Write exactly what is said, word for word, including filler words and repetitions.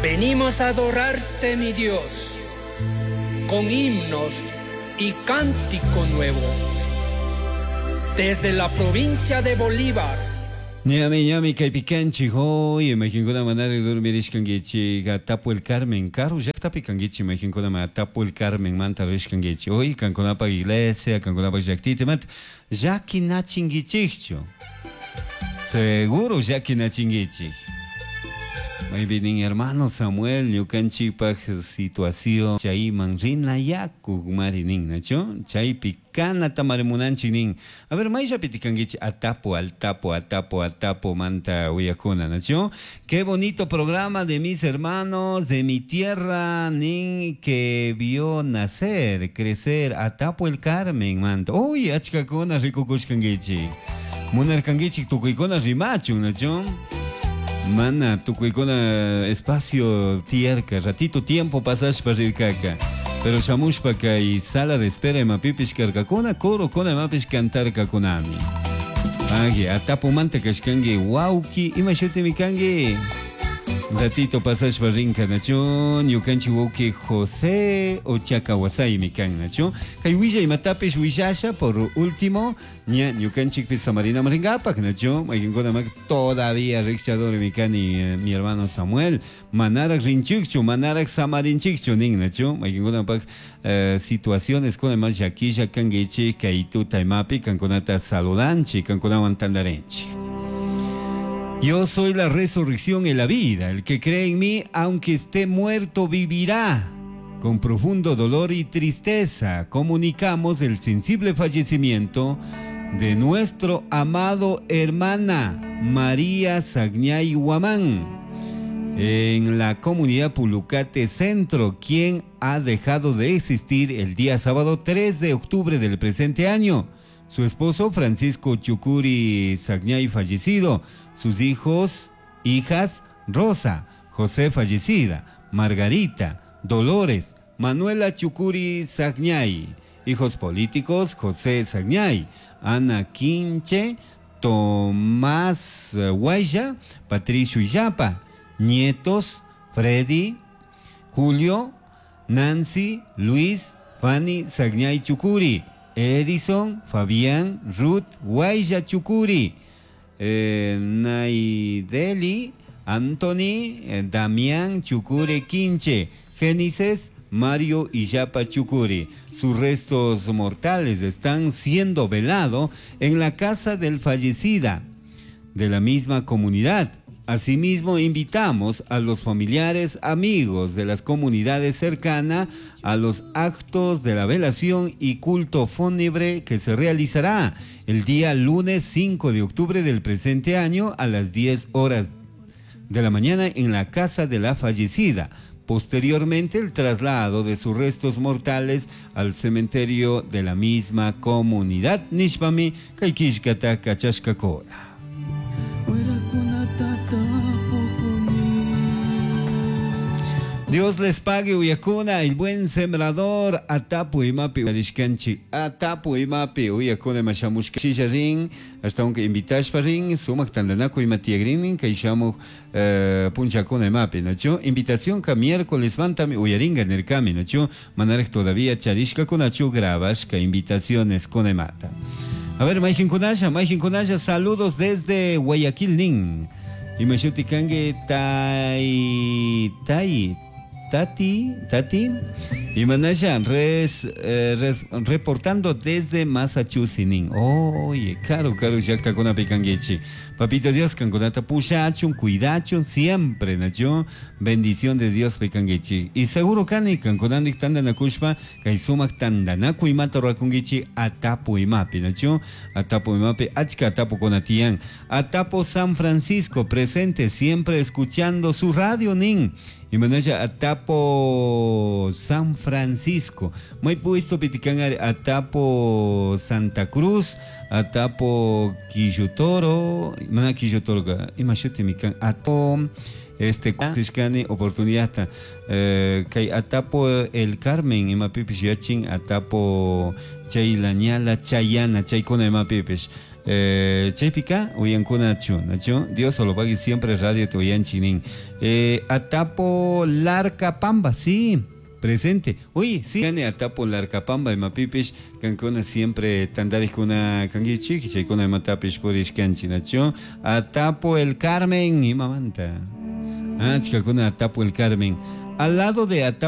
Venimos a adorarte, mi Dios, con himnos y cántico nuevo. Desde la provincia de Bolívar. Ñami, ñami, kaypi kanchik, hoy, mayqinkuna manaraq dormirishkankichik, Atapu el Carmen, karu llaqtapi kankichik, mayqinkuna Atapu el Carmen manta rishkankichik, hoy, kankunapaq iglesia, kankunapaq llaqtita, imata llakinachinkichikchu, seguro llakinachinkichik. Maypi nin hermano Samuel, ñukanchikpaq situación chayman rinayakuk mari nin, nachu? Chaypi kanata mari munanchik nin. A ver, mayllapi kankichik Atapo, Altapo, Atapo, Atapo manta uyakuna, nachu? Qué bonito programa de mis hermanos de mi tierra, nin que vio nacer, crecer, Atapo el Carmen manta. Uy, achkakuna rikukushkankichik. Munarkankichik tukuykuna rimachun, nachu? Mana tukuykuna espacio tiyarka, ratito tiempo pasashpa rirkaka. Pero shamushpa kay sala de espera imapipish karkakuna, corokuna imapish cantarkakunami. Agi, atapumanta kashkanki, wawki, ima shutimi kanki? Ratito pasashpa rinka, nachu, ñukanchik wawki José Ochaka wasaymi kan, nachu. Kay willa imatapish willasha, por último, ña ñukanchikpis samarinaman rinkapak, nachu. Mayqinkuna mak todavía rikchadormi kani, eh, mi hermano Samuel. Manarak rinchikchu, manarak samarinchikchu nin, nachu. Mayqinkunapak eh, situaciones kuna más llakilla kankichik, kay tuta imapi kankunata saludanchik, kankunawan tantarinchik. Yo soy la resurrección y la vida. El que cree en mí, aunque esté muerto, vivirá. Con profundo dolor y tristeza, comunicamos el sensible fallecimiento de nuestro amado hermana María Sagñay Guamán, en la comunidad Pulucate Centro, quien ha dejado de existir el día sábado tres de octubre del presente año. Su esposo Francisco Chucuri Sagñay fallecido, sus hijos, hijas, Rosa, José fallecida, Margarita, Dolores, Manuela Chucuri Sagñay, hijos políticos José Sagñay, Ana Quinche, Tomás Guaya, Patricio Illapa, nietos Freddy, Julio, Nancy, Luis, Fanny Sagñay Chucuri, Edison, Fabián, Ruth, Guaya Chucuri, eh, Naideli, Anthony, eh, Damián Chucuri Quinche, Génesis, Mario Illapa Chucuri. Sus restos mortales están siendo velados en la casa del fallecida de la misma comunidad. Asimismo, invitamos a los familiares, amigos de las comunidades cercanas a los actos de la velación y culto fúnebre que se realizará el día lunes cinco de octubre del presente año a las diez horas de la mañana en la casa de la fallecida. Posteriormente, el traslado de sus restos mortales al cementerio de la misma comunidad. Nishpami, kaikishkata kachashkakuna. Dios les pague, uyakuna, el buen sembrador, atapu imapi, arishkanchi, atapu imapi, uyakuna mashamushka, shisharin, hasta aunque invitashparin, sumak tandanaku imatiagrin, kaishamu eh, punchakuna imapi, nacho, invitación ka miércoles mantami, uyaringa nerkami, nacho, manarek todavía charishka kunachu, grabashka invitaciones con imata. A ver, mayjin kunasha, mayjin kunasha, saludos desde Guayaquil, nin. Imashuti kange tai, tai, Tati, Tati, y Manasha, res, eh, res, reportando desde Massachusetts. Nin. Oye, caro, caro, llaqta kuna picanguechi. Papito Dios, kankunata pushachun, cuidachun, siempre, nacho. Bendición de Dios picanguechi. Y seguro kani, kankunandik tandanakushpa, kay sumak tandanaku imata ruakunguichi, atapu imapi, nacho. Atapu imapi, achka atapu konatian. Atapo San Francisco, presente, siempre escuchando su radio, nin. Y manaya Atapo San Francisco. Muy puesto pitican Atapo Santa Cruz, Atapo Quillotoro, mana Quillotoro, imashuti mikan Atapo este tishkani oportunidad eh, kay Atapo el Carmen imapipish yachin Atapo chaylañala chayana chaykuna imapipish. Eh, chaypika uyankunachu nachu Dios lo pague siempre radio uyanchik nin. Eh, Atapo Larcapamba, sí, presente. Uy, sí, Atapo Larcapamba imapipish kankuna siempre tantarikuna kankichik chaykuna imatapish purishkanchik nachu. Atapo el Carmen imamanta. Ah, chikakuna Atapo el Carmen. Al lado de Atapo